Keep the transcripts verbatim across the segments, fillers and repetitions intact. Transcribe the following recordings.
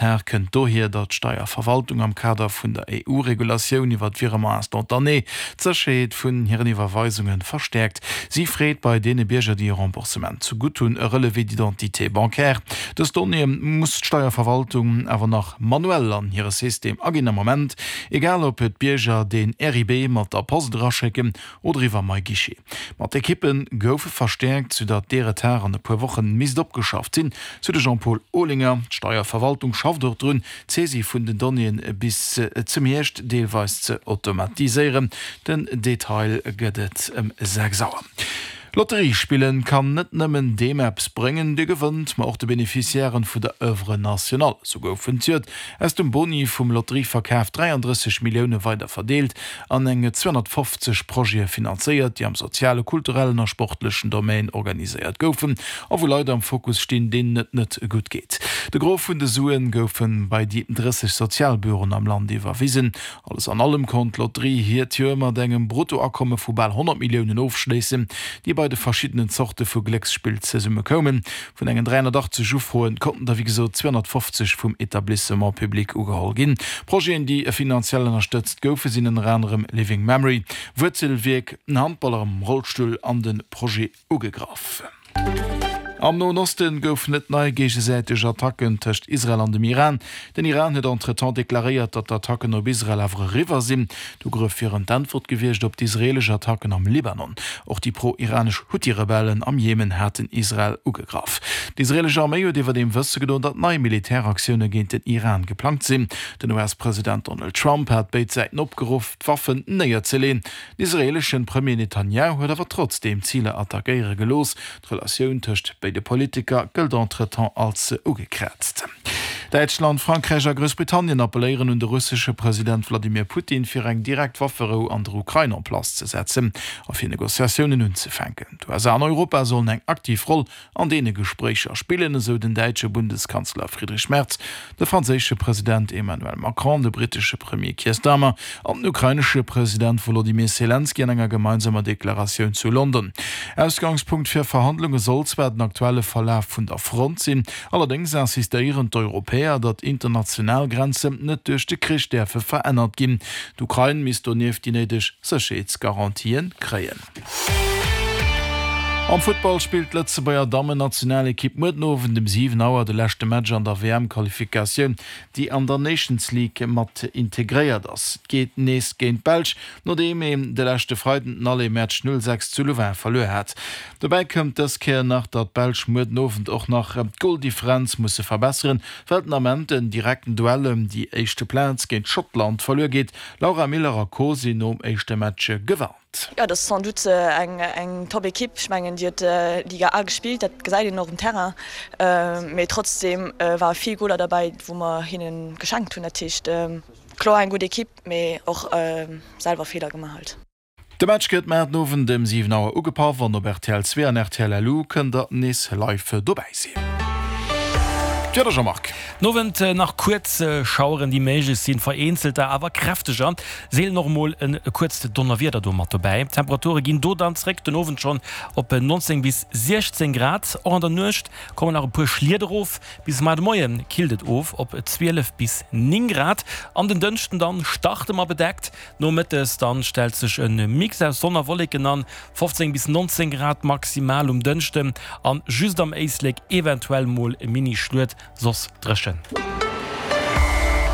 Retard kënnt dohier, datt d'Steierverwaltung am Kader vun der E U-Regulatioun iwwer d'Virement instantané d'Sécherheet vun hiren Iwwerweisunge verstäerkt. Si freet bei deene Bierger, déi e Remboursement zegutt hunn, e Relevé d'identité bancaire. Dës Donnéeë muss d'Steierverwaltung awer nach manuell an hire System aginn am Moment, egal ob d'Bierger den R I B mat der Post eraschécken oder iwwer MyGuichet. Ma d'Ekippe goufe verstäerkt, soudatt dee Retard an e puer Woche misst opgeschafft sinn, sou de Jean-Paul Olinger. D'Steierverwaltung schafft och drun, d'Saisie vun den Donnéeën bis zum Hierscht deelweis ze automatiséieren. Den Detail gëtt et ëm sechs Auer. Lotterie spillen kann net nëmmen deem eppes bréngen, dee gewënnt, ma och de Beneficiairen vun der Œuvre nationale. Sou goufen zejoert aus dem Boni vum Lotterieverkaf dräiandrësseg Millioune weider verdeelt an eng zweehonnertfofzeg Projete finanzéiert, déi am soziale, kulturellen a sportlechen Domaine organiséiert goufen a wou Leit am Fokus stinn, deenen et net gutt geet. De Gros vun de Suen goufe bei déi drësseg Sozialbüroen am Land iwwerwisen. Alles an allem konnt d'Lotterie hiert Joer mat engem Bruttoakomme vu bal honnert Milliounen ofschléissen, déi bei de verschiddenen Zorte vu Glécksspill zesumme koumen. Vun engen dräihonnertachtzeg Ufroen konnten der wéi gesot zweehonnertfofzeg vum Etablissement public ugeholl ginn. Projeten, déi finanziell ënnerstëtzt goufen, sinn ënner anerem Living Memory, Wuerzelwierk, en Handballer am Rollstull an de Projet Ugegraff. Am Noen Osten goufen et nei géigesäiteg Attacken tëscht Israel an dem Iran. Den Iran huet entretemps deklaréiert, datt d'Attacken op Israel awer eriwwer sinn. D'Ugrëff wieren d'Äntwert gewiescht op d'israeelesch Attacken am Libanon. Och déi pro-iranesch Huthi-Rebellen am Jemen haten Israel ugegraff. D'israeelesch Arméi huet iwwerdeem wësse gedoen, datt nei Militäraktioune géint den Iran geplangt sinn. Den U S-President Donald Trump hat béid Säiten opgeruff, d'Waffen néierzeleeën. Den israeelesche Premier Netanjahu huet awer trotzdeem Ziler attackéiere gelooss. D'Relatioun tëscht béide Politiker gëllt entretemps als ugekraazt. Däitschland, Frankräich a Groussbritannien appelléieren un de russesche President Wladimir Putin, fir eng direkt Wafferou an der Ukrain en place ze setzen a fir Negociatiounen unzefänken. D'U S A an Europa sollen eng aktiv Roll an deene Gespréicher spillen, esou den däitsche Bundeskanzler Friedrich Merz, de franséische President Emmanuel Macron, de brittesche Premier Keir Starmer an den ukrainesche President Wolodymyr Selenskyj an enger gemeinsamer Deklaratioun zu London. Ausgangspunkt fir Verhandlunge soll zwar den aktuelle Verlaf vun der Front sinn, allerdéngs insistéieren d'Europäer, datt international Grenzen net duerch de Krich däerfe verännert ginn. D'Ukrain misst donieft déi néideg Sécherheetsgarantien kréien. Am Futtball spillt d'Lëtzebuerger Dammen-Nationalekipp muer den Owend um siwen Auer de leschte Match an der W M-Qualifikatioun, déi an der Nations League mat integréiert ass. Et geet nees géint d'Belsch, nodeem een de leschte Freiden den Aller-Match null sechs zu Louvain verluer hat. Dobäi kënnt dës Kéier nach, datt d'Belsch muer den Owend och nach d'Goldifferenz musse verbesseren, well den Ament den direkten Duell ëm déi éischte Plaz géint Schottland verluer geet. Laura Miller a Co sinn nom éischte Match gewarnt. Jo, dat ass sans doute eng eng top Ekipp. Ech mengen, déi huet Liga A gespillt, dat gesäit een och um Terrain. Mee trotzdeem ware vill Goler derbäi, wou mer hinne geschenkt hunn. Dat heescht, kloer eng gutt Ekipp, mee och selwer Feeler gemaach halt. De Match gëtt muer den Owend ëm siwen Auer ugepaff an op R T L zwee an R T L L U kënnt der nees live dobäi sinn. D'Wieder, Jean-Marc. Den Owend nach kuerz Schaueren, déi méiglech sinn, vereenzelter awer kräfteger, seelen och mol e kuerzt Donnerwieder do mat dobäi. D'Temperature ginn do dann zréck den Owend schonn op neunzéng bis siechzéng Grad. Och an der Nuecht kommen nach e puer Schliet erof, bis muer de Moie killt et of op zwielef bis néng Grad. An den Dënschden dann starte mer bedeckt, nomëttes dann stellt sech e Mix aus Sonn a Wolleken an, fofzéng bis nonzéng Grad maximal um Dënschden an just am Éislek eventuell mol e Mini-Schluet, soss dréchen.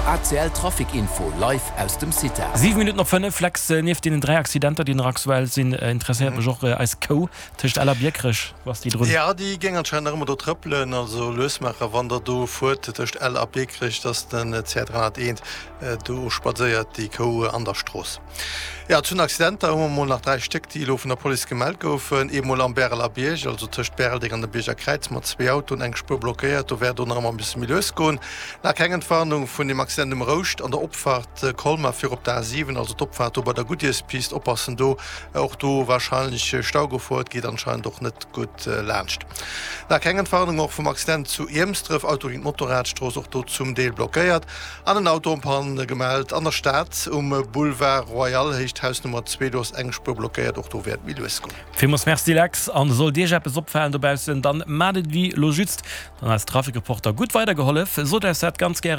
A C L Trafic Info live aus dem CITA. Siwe Minutten op fënnef, Lex, nieft deenen dräi Accidenter, déi nach aktuell sinn, interesséiert mech och eis Kou tëscht Ell a Biekerech. Wou ass déi drun? Jo, déi géing anscheinend nach ëmmer do trëppelen. Also lues maachen, wann der do fuert tëscht Ell a Biekerech, dass den C R dräihonnerteent, do spadséiert déi Kou an der Strooss. Jo, zu den Accidenter hu mer mol nach dräi Stéck, déi elo vun der Police gemellt goufen. Eemol am Bäreler Bierg, also tëscht Bäreldeng an dem Bierger Kräiz, mat zwee Autoen, eng Spuer blockéiert. Do wäert och nach ëmmer e bësse méi lues goen. Nach keng Entwarnung vun dem Accident. Accident um Rouscht an der Opfaart Colmar fir op d'A siwen, also d'Opfaart do bei der Goodyearspist, oppassen do, och do warscheinlech Staugefor, et geet anscheinend och net gutt laanscht. Nach keng Entwarnung och vum Accident zu Iermsdref, Auto géint Motorradstrooss, och do zum Deel blockéiert an en Auto en panne gemellt an der Stad um Boulevard Royal, Héicht Haus Nummer zwee, do ass eng Spuer blockéiert, och do wäert méi lues goen. Villmools Merci Lex, an sollt Iech eppes opfalen dobaussen, dann maacht et wéi lo just, dann eis Trafikreporter gutt weidergehollef, sot eis dat ganz gäre.